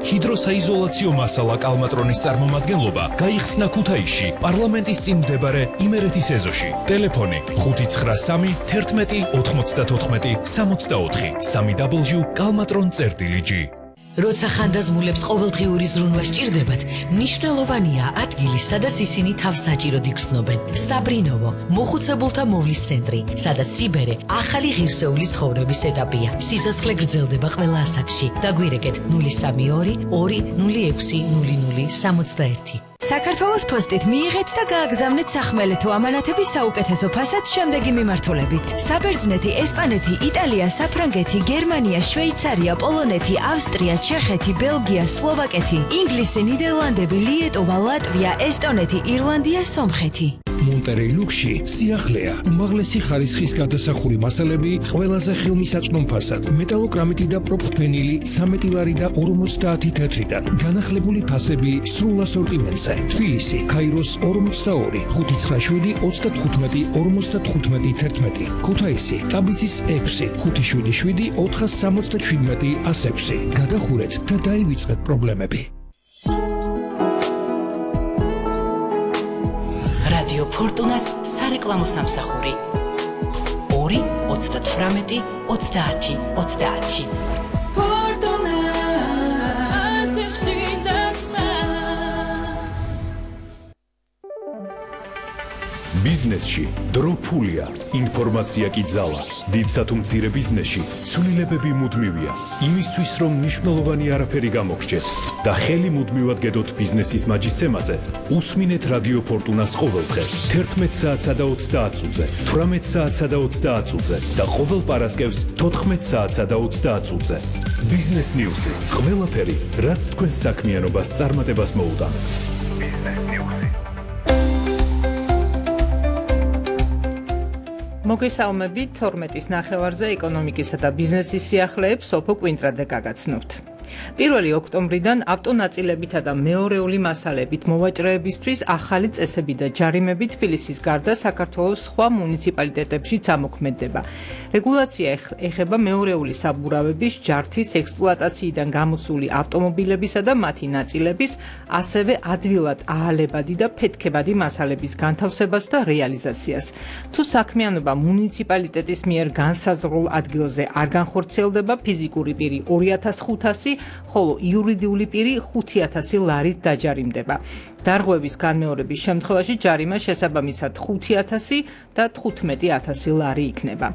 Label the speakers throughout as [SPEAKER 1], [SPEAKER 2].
[SPEAKER 1] ჰიდროსაიზოლაციო მასალა კალმატრონის წარმომადგენლობა გაიხსნა ქუთაისში, პარლამენტის წინ მდებარე იმერეთის ეზოში. ტელეფონი 593 11 94 64 www.kalmatron.gr.
[SPEAKER 2] როცა ხანდაზმულებს ყოველდღიური ზრუნვა სჭირდებათ, მნიშვნელოვანია ადგილი, სადაც ისინი თავს საჭიროდ იგრძნობენ. საბრინოვო, მოხუცებულთა მოვლის центრი, სადაც სიბერე ახალი ღირსეული ცხოვრების ეტაპია. სიცოცხლე გრძელდება ყველა ასაკში. დაგვირეკეთ 032 206 0061.
[SPEAKER 3] საქართველოს პოსტით მიიღეთ და გააგზავნეთ სახმელეთო ამანათების საუკეთესო ფასად შემდეგი მიმართულებით. საბერძნეთი, ესპანეთი, იტალია, საფრანგეთი, გერმანია, შვეიცარია, პოლონეთი, ავსტრია, ჩეხეთი, ბელგია, სლოვაკეთი, ინგლისი, ნიდერლანდები, ლიეტოვა, ლატვია, ესტონეთი, ირლანდია, სომხეთი.
[SPEAKER 4] მონტერეი ლუქსში სიახლეა, უმაღლესი ხარისხის გადასახური მასალები ყველაზე ხელმისაწვდომ ფასად, მეტალოკრამიტი და პროფენილი 13 ლარი და 50 თეთრიდან, განახლებული ფასები სრულ ასორტიმენტზე. თბილისი, ქაიროს 42, 597 35 55 11. ქუთაისი, ტაბიცის 6, 577 477 106. გადახურეთ და დაივიწყეთ პრობლემები.
[SPEAKER 2] რადიო ფორტუნას სარეკლამო სამსახური 2 38 30 30.
[SPEAKER 1] ბიზნესში დრო ფულია, ინფორმაცია კი ძალა. დიდსა თუ მცირე ბიზნესში ცვლილებები მუდმივია. იმისთვის რომ მნიშვნელოვანი არაფერი გამოგრჩეთ და ხელი მუდმივად გედოთ ბიზნესის მაჯისცემაზე, უსმინეთ რადიო ფორტუნას ყოველდღე 11 საათსა და 30 წუთზე, 18 საათსა და 30 წუთზე და ყოველ პარასკევს 14 საათსა და 30 წუთზე. ბიზნეს ნიუსი, ყველაფერი, რაც თქვენს საქმიანობას წარმატებას მოუტანს.
[SPEAKER 5] მოგესალმებით 12-ის ნახევარზე ეკონომიკისა და ბიზნესის სიახლეებს სოფო კვინტრაძე გაგაცნობთ. 1 ოქტომბრიდან ავტონაწილებითა და მეორეული მასალებით მოვაჭრეებისთვის ახალი წესები და ჯარიმები თბილისის გარდა საქართველოს სხვა მუნიციპალიტეტებშიც ამოქმედდება. რეგულაცია ეხება მეორეული საბურავების, ჯართის, ექსპლუატაციიდან გამოსული ავტომობილებისა და მათი ნაწილების, ასევე ადვილად აალებადი და ფეთქებადი მასალების განთავსებას და რეალიზაციას. თუ საქმიანობა მუნიციპალიტეტის მიერ განსაზღვრულ ადგილზე არ განხორციელდება, ფიზიკური პირი 2500, ხოლო იურიდიული პირი 5000 ლარით დაჯარიმდება. დარღვევის განმეორების შემთხვევაში ჯარიმა შესაბამისად 5000 და 15000 ლარი იქნება.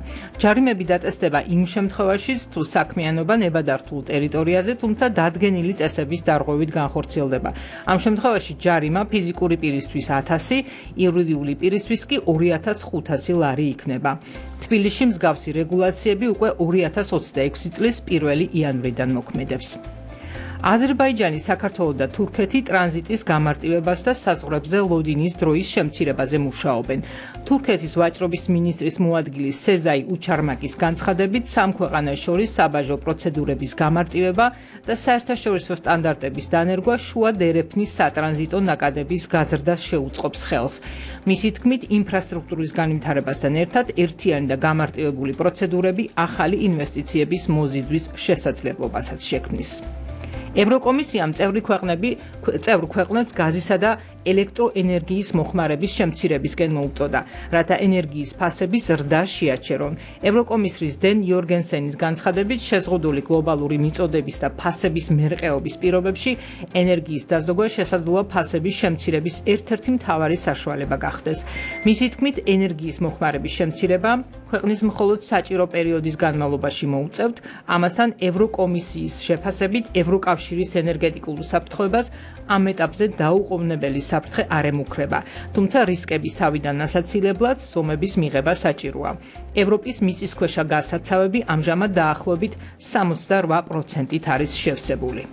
[SPEAKER 5] ჯარიმები დატესდება იმ შემთხვევაშიც, თუ საქმიანობა ნებადართულ ტერიტორიაზე, თუმცა დადგენილი წესების დარღვევით განხორციელდება. ამ შემთხვევაში ჯარიმა ფიზიკური პირისთვის 1000, იურიდიული პირისთვის კი 2500 ლარი იქნება. თბილისში მსგავსი რეგულაციები უკვე 2026 წლის 1 იანვრიდან მოქმედებს. აზერბაიჯანი, საქართველო და თურქეთი ტრანზიტის გამარტივებას და საზღვრებზე ლოდინის დროის შემცირებაზე მუშაობენ. თურქეთის ვაჭრობის მინისტრის მოადგილის სეზაი უჩარმაკის განცხადებით, სამ ქვეყანას შორის საბაჟო პროცედურების გამარტივება და საერთაშორისო სტანდარტების დანერგვა შუა დერეფნის სატრანზიტო ნაკადების გაზრდას შეუწყობს ხელს. მისი თქმით, ინფრასტრუქტურის განვითარებასთან ერთად ერთიანი და გამარტივებული პროცედურები ახალი ინვესტიციების მოზიდვის შესაძლებლობასაც შექმნის. ევროკომისიამ წევრი ქვეყნებს გაზისა და ელექტროენერგიის მოხმარების შემცირებისკენ მოუწოდა, რათა ენერგიის ფასები ზრდა შეაჩერონ. ევროკომისრის დენ იორგენსენის განცხადებით, შეზღუდული გლობალური მიწოდების და ფასების მერყეობის პირობებში ენერგიის დაზოგვა შესაძლოა ფასების შემცირების ერთ-ერთი მთავარი საშუალება გახდეს. მისი თქმით, ენერგიის მოხმარების შემცირება ქვეყნის მხოლოდ საჭირო პერიოდის განმავლობაში მოუწევთ, ამასთან ევროკომისიის შეფასებით ევროკავშირის ენერგეტიკულ უსაფრთხოებას ამ ეტაპზე დაუყოვნებელი საფრთხე არ ემუქრება, თუმცა რისკების თავიდან ასაცილებლად სომების მიღება საჭიროა. ევროპის მიწისქვეშა გაზსაცავები ამჟამად დაახლოებით 68%-ით არის შევსებული.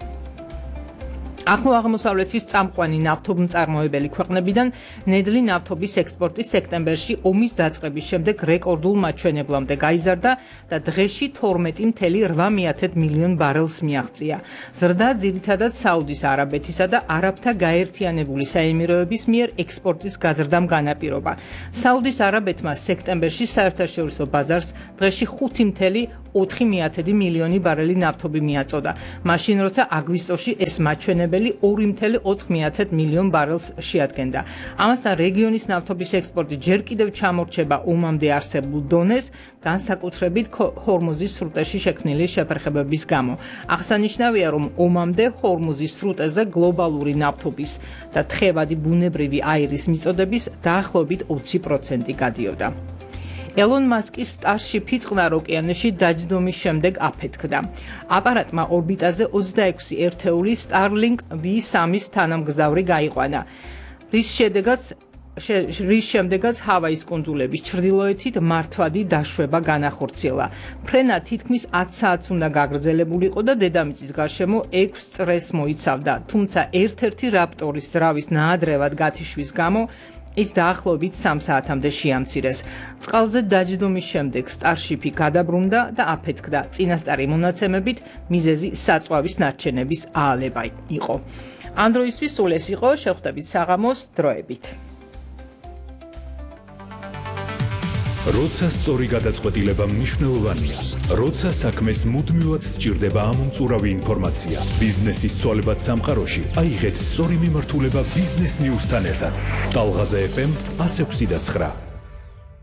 [SPEAKER 5] ახლო აღმოსავლეთის წამყვანი ნავთობმწარმოებელი ქვეყნებიდან ნედლი ნავთობის ექსპორტი სექტემბერში ომის დაწყების შემდეგ რეკორდულ მაჩვენებლამდე გაიზარდა და დღეში 12,8 მილიონ ბარელს მიაღწია. ზრდა ძირითადად საუდის არაბეთისა და არაბთა გაერთიანებული საემიროების მიერ ექსპორტის გაზრდამ განაპირობა. საუდის არაბეთმა სექტემბერში საერთაშორისო ბაზარს დღეში 5,2 4,1 მილიონი ბარელი ნავთობი მიაწოდა. მაშინ როცა აგვისტოში ეს მაჩვენებელი 2,4 მილიონ ბარელს შეადგენდა. ამასთან რეგიონის ნავთობის ექსპორტი ჯერ კიდევ ჩამორჩება ომამდე არსებულ დონეს, განსაკუთრებით ჰორმუზის სრუტეში შექმნილი შეფერხებების გამო. აღსანიშნავია, რომ ომამდე ჰორმუზის სრუტეზე გლობალური ნავთობის და თხევადი ბუნებრივი აირის მიწოდების დაახლოებით 20% გადიოდა. ელონ მასკის სტარშიპი წყნარ ოკეანეში დაჯდომის შემდეგ afetkda. აპარატმა ორბიტაზე 26 ერთეული Starlink V3-ის თანამგზავრი გაიყვანა. რის შემდეგაც ჰავაის კუნძულების ჩრდილოეთით მართვადი დაშვება განახორციელა. ფრენა თითქმის 10 საათს უნდა გაგრძელებულიყო და დედამიწის გარშემო 6 წრეს მოიცავდა, თუმცა ერთ-ერთი რაპტორის ძრავის ნაადრევად გათიშვის გამო ის დაახლოებით 3 საათამდე შეამცირეს. წყალზე დაჯდომის შემდეგ სტარშიპი გადაბრუნდა და afetkda. წინასწარი მონაცემებით მიზეზი საწვავის ნარჩენების აალება იყო. ამ დროისთვის სულ ეს იყო, შევხვდებით საღამოს დროებით.
[SPEAKER 1] როცა სწორი გადაწყვეტილება მნიშვნელოვანია, როცა საქმეს მუდმივად სჭირდება ამომწურავი ინფორმაცია, ბიზნესის ცვალებად სამყაროში, აიღეთ სწორი მიმართულება ბიზნეს ნიუსთან ერთად. ტალღაზე FM 106.9